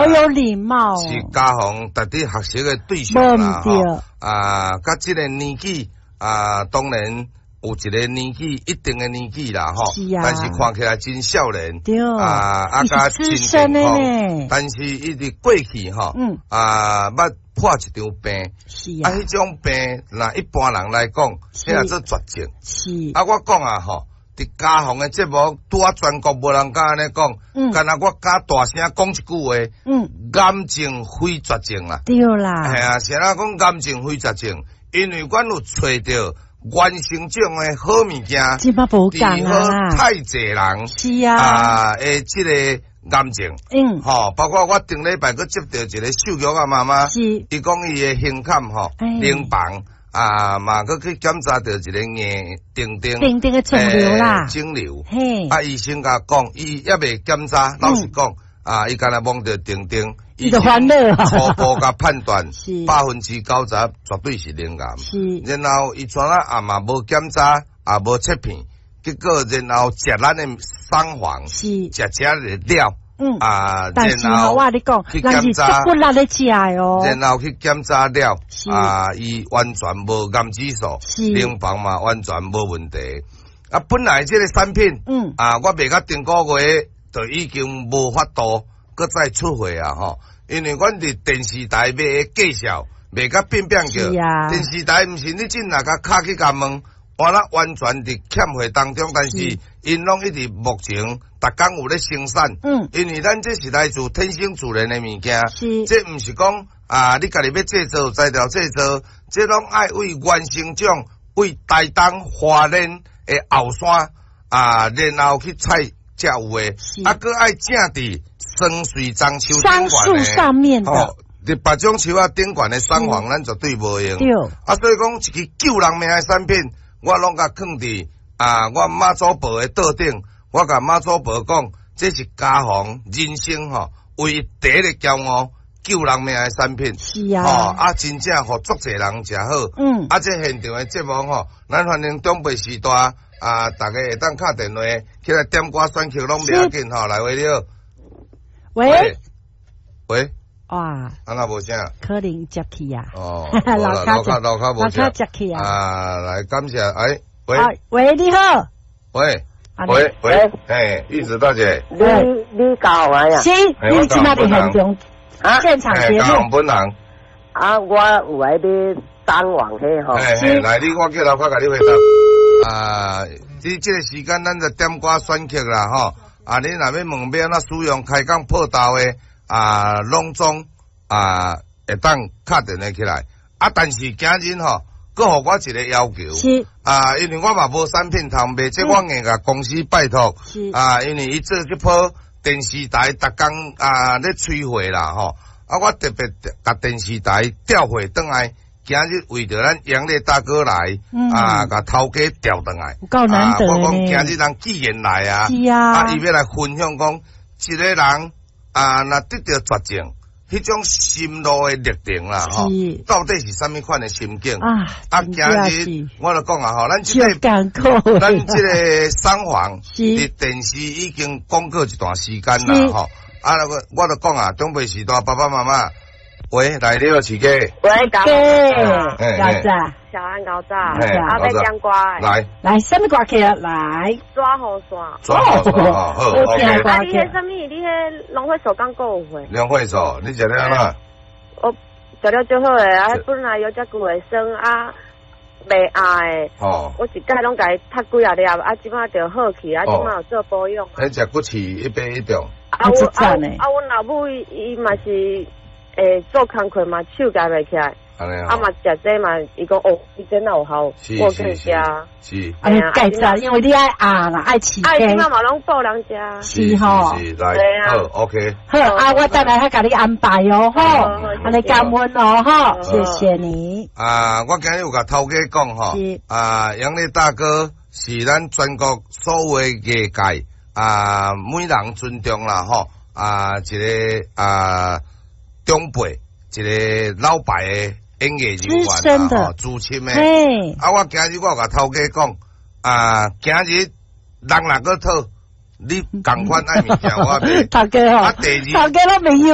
有禮貌。是家雄值得學習的對象啦，吼。啊，佮這個年紀啊，當然有一個年紀一定的年紀啦，吼。但是看起來真少年。啊，佮真健康。但是伊佇過去吼，捌破一場病。啊，彼種病，若一般人來講，彼叫做絕症。啊，我講啊，吼，佇家雄的節目，拄仔全國無人敢按呢講，敢若我敢大聲講一句話，癌症非絕症啦。對啦。係啊，啥人講癌症非絕症？因為阮有揣著原生種的好物件，治好太濟人。啊，的這個癌症，吼，包括我頂禮拜閣接著一個秀玉仔媽媽，伊講伊的胸坎吼，乳房。啊，嘛，閣去檢查著一個硬定定定定的腫瘤啦，腫瘤。啊，醫生共講，伊猶未檢查，老實講，啊，伊敢若摸著定定，伊就煩惱。初步共判斷，90%絕對是乳癌。然後伊跩仔也嘛無檢查，也無切片，結果然後食咱的桑黃，食食了。啊，但是吼，我共你講，人是足骨力咧食的哦。然後去檢查了，啊，伊完全無癌指數，乳房嘛完全無問題。啊，本來這個產品，啊，我賣到頂個月就已經無法度閣再出貨啊，吼，因為阮佇電視台賣的介紹賣甲變變叫，電視台毋是你進來共敲去共問。我咧完全佇欠貨當中，但是𪜶攏一直目前逐工有咧生產。因為咱這是來自天生自然的物件，這毋是講啊，你家己欲製造材料製造，這攏愛為原生種，為台東花蓮的後山啊，然後去採才有的。啊，閣愛種佇桑穗樟樹桑樹上面的。佇別種樹仔頂懸的桑黃，咱絕對無用。啊，所以講一支救人命的產品，我攏共囥佇啊，我媽祖婆的桌頂，我共媽祖婆講，這是家雄人生吼，唯一第一個驕傲救人命的產品。吼啊，真正予足濟人食好。啊，這現場的節目吼，咱歡迎長輩時代啊，逐家會當敲電話起來點歌選曲攏袂要緊吼，來，喂，你好。喂。喂。哇！啊若無聲？可能接去啊！哦，樓跤樓跤無接去啊！啊，來感謝，哎，喂，喂，你好，喂，喂喂，哎，玉子大姐，你教我呀？是，你這馬佇現場，現場節目。本人。啊，我有愛買單網彼吼。是，來，你我叫樓跤共你回答。啊，這個時間咱就點歌選曲啦，吼。啊，你若欲問欲按怎使用開講破豆的？啊，攏總啊，會當敲電話起來。啊，但是今日吼，閣予我一個要求。啊，因為我嘛無產品通賣，這我硬共公司拜託。啊，因為伊做這波電視台逐工啊咧催貨啦，吼。啊，我特別共電視台調貨轉來，今日為著咱楊烈大哥來，啊，共頭家調轉來。有夠難得。啊，我講今日人既然來啊，啊，伊欲來分享講，一個人。啊，若得著絕症，彼種心路的歷程啦，吼，到底是啥物款的心境？啊，今日我就講啊，吼，咱這個桑黃佇電視已經講過一段時間啦，吼。啊，我就講啊，長輩時代爸爸媽媽，喂，來你好，飼雞。喂，高早，小安高早，啊，欲點歌來，來，啥物歌曲啊？來，抓雨傘，抓雨傘，好，OK。啊，你彼啥物？你彼農會所剛過有會？農會所，你食了哪？我食了足好的，啊，本來有遮久會酸啊，袂愛。哦。我一擺攏共伊踢幾仔粒，啊，這擺就好去，啊，這擺有做保養。彼食骨刺一百一種。啊，我啊啊，阮老母伊嘛是會做工課嘛，手舉袂起來。啊嘛，食這嘛，伊講哦，伊真有效，我去食。是。啊，你蓋早，因為你愛壓啦，愛飼雞。啊，這擺嘛攏補人食。是吼。是，來，好，OK。好，啊，我等下共你安排哦，吼，按呢感恩哦，吼，謝謝你。啊，我今日有共頭家講吼，啊，楊烈大哥是咱全國所有的藝界啊，每人尊重啦，吼，啊，一個啊長輩，一個老牌的演藝人員啦，吼，資深的。啊，我今日我有共頭家講，啊，今日人若閣討，你仝款愛物件我買。頭家吼，啊，第二，頭家攏袂憂。